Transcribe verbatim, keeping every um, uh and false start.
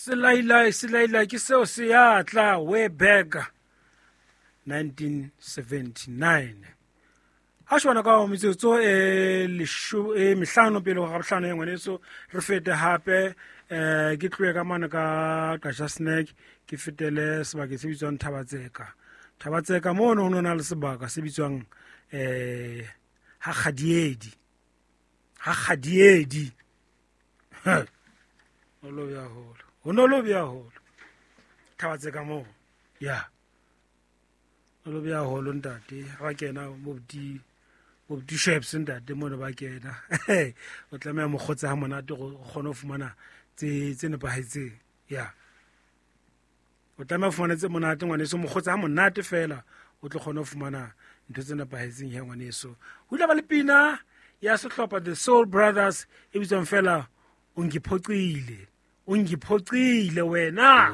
Selailai, selailai ke seo se ya tla way back nineteen seventy-nine. Ha shwana ka metsotso e lesho e mehlano pele ho gabohlano ya ngwaneso, re fete hape eh ke tlohe ka mane ka Qacha Snack, ke fetele sebakeng se bitswang Thabatseka. Thabatseka mono ho na le sebaka se bitswang eh ha Kgadiedi. Ha Kgadiedi. O lo ya holo. Ho no lo bya holo. Thabatseka moo. Ya. O lo bya holo ntate, ha ba kena mo di bo di shops ntate mono ba kena. O tlameha mokgotsa ha monate go kgone ho fumana tse tse nepahetseng. Ya. O tlameha ho fumana tse monate ngwaneso, mokgotsa ha monate fela o tlo kgone ho fumana ntho tse nepahetseng ya ngwaneso. Ho ile ba le pina ya sehlopha The Soul Brothers e bitswang fela o ngiphoqile. O ngiphoqile wena.